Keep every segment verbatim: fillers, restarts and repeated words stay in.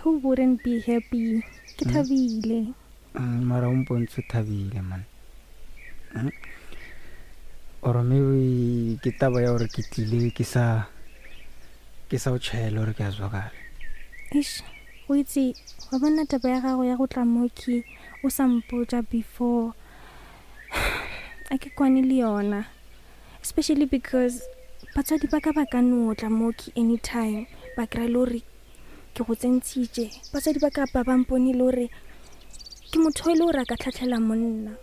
Who wouldn't be happy? Ke thabile. Mm, mara o mpontse o thabile man. Mm. Or maybe ke taba ya gore ke tlile ke sa ke sa o tšhaela gore ke a zwakala. Eish, o itse wa bona taba ya gago ya go tla moki o sa mpotša before a ke kwane le yona, especially because batswadi ba ka ba ka no tla moki anytime ba kry-a le gore ke go tsentšhitše. Batswadi ba ka ba ba mpone le gore ke motho e le gore a ka tlhatlhela monna.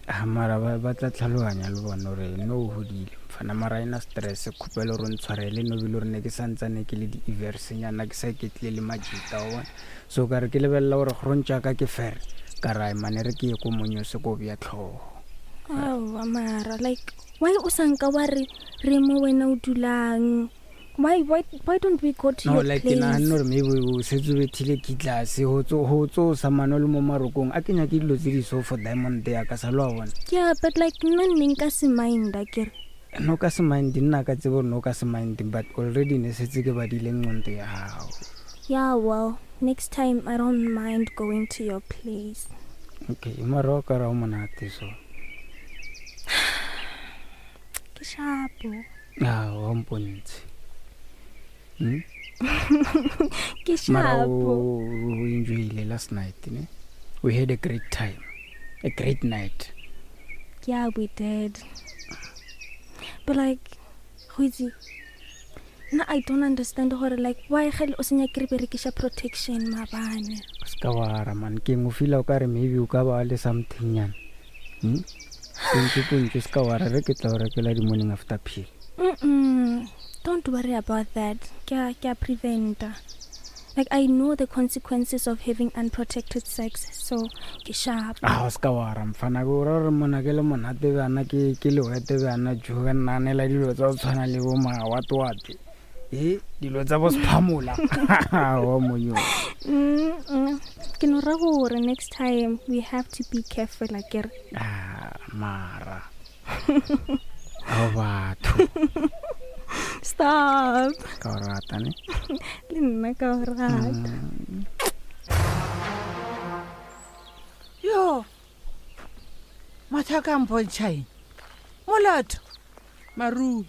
Ah, mara ba ba tla tlhaloganya le bona gore no o godile mfana, mara ena stress. Kgopelo gore o ntshwarele no bile gore ne ke santsane ke le di-eversenyana, ke sa iketlile le majita wa bona. So ka re ke lebelela gore grontšaka ke fere ka ra mane re ke ye ko monyose ko bja tlhogo. Aowa, mara like why o sa nka wa re re mo wena o dulang? Why, why, why don't we go to No, your like ke place? naganne gore maybe o setse o bethile kitlase go tso sa mano le mo marokong, a ke nyake dilo tse di so for diamond ya ka sa lo wa bona. Yeah, but like nna nne nka se minda kere. No ka se mind, nna ka tsebo gore no ka se mind, but already ne setse ke badile nqonto ya gago. Yeah, well, next time I don't mind going to your place. Okay, mara o ka ra o monate so. Ke shapo. A wa mpontshe. Hmm? Ke Mara shapo. o o enjoyile last night ne? We had a great time, a great night. Yeah, we did, but like go itse nna I don't understand gore like why gale o senya ke re berekiša protection maabane. O se ka wara man, ke eng o feela o ka re maybe o ka ba le something nyana. Hmm? Pontso pontso, se ka wara, re ke tla o rekela di-morning after pill. Mm-mm. Don't worry about that. Ke a ke a preventa. Like I know the consequences of having unprotected sex, so ke sharp. A o se ka wara mfana, ke ora gore mona ke le monate bjana, ke ke lewete bjana jo ka nnaanela dilo tsa go tshwana le bo mawatwate e dilo tsa bo sephamola wa monyo. Mm-mm. Ke no ra gore next time we have to be careful akere. Ah, mara ao batho. Stop. Ka o rata ne. Le nna ka o rata. Yo, mathaka a mpontšha eng molato? Marumo.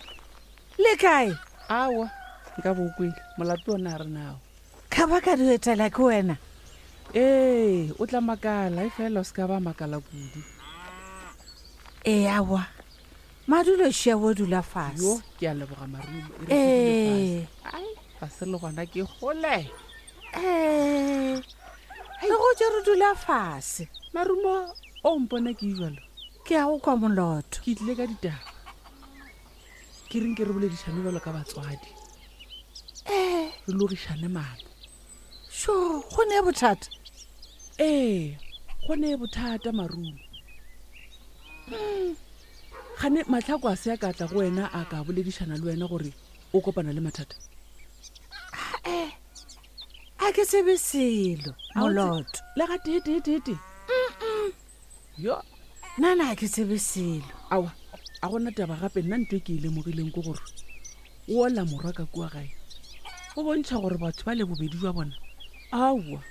Le kae? Awa, nka bo kwele molato ona a re nao. Ka ba ka di etela ke wena. Ee, o tla makala e fela o se ka ba makala kudu. Ee, awa madulo šia o dula Yo fase. Ke a leboga Marumo, e re ke dule Ee. fase. Ai, ga se le gona ke gole. Ee, re go tse re dula fase. Marumo, o mpona ke jalo. Ke a go kwa moloto. Ke tlile ka ditaba, ke reng ke re boledišane jalo ka batswadi. Ee. Re logišane maano. Sho, go ne bothata? Ee, go ne bothata Marumo. Gane matlhako a se a ka tla go wena a ka boledišana le wena gore o kopana le mathata? Ee, a ke tsebe selo. A o tse- Moloto. Le ga tee tee tee tee yo. Nna a ke tsebe selo. Awa, a gona taba gape. Nna ntho e ke e lemogileng ke gore o ola morwa ka kua gae go bontšha gore batho ba le bobedi jwa bona aowa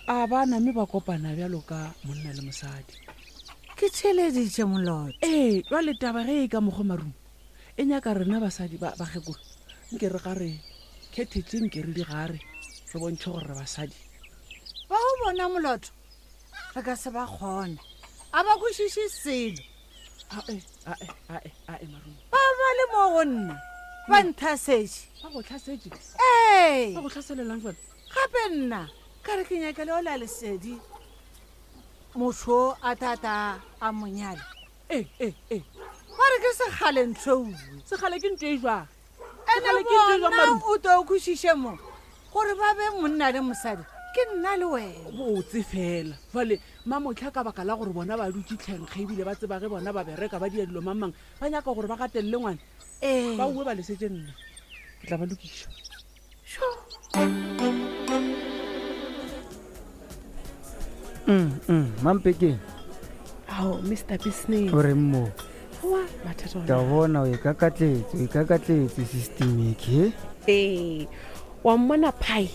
a ba name ba kopana bjalo ka monna le mosadi. Ke theeleditše moloto. Ee, jale taba ge e ka mokgwa marumo e nyaka rena basadi ba bakgekolo nke re ga re kgethetse, nke re di gare re bontšhe gore re basadi. Ba go bona moloto, re ka se ba kgone, a ba kwešiše selo. Ae, ae, ae, ae, marumo. Ba ba le mo go nna ba nthasetše. Ba go tlhasetše? Ee. Ba go tlhaselelang jale? Gape nna ka re ke nyaka le ola lesedi motho a tata a monyale. Ee, ee, ee. Ba re ke sekgale ntho uwe. Sekgale ke ntho e jwang? Ene Sekgale ke ntho e jwang, bona Marumo? o to o kwešiše mo gore ba be monna le mosadi ke nna le wena. Botse fela jale mamotlha ka baka la gore bona ba dutse tlhenkge ebile ba tseba ge bona ba bereka ba dia dilo mamang ba nyaka gore ba gatelele ngwana. Ee. Ba uwe ba lesetse, nna ke tla ba lokiša. Sho. Mm, mm, mampekeng. Ao, Mr Business. O reng mo? Oa, mathata Ka ona. bona o e kakatletse, o e kakatletse systemic he. Ee, wa mmona pai.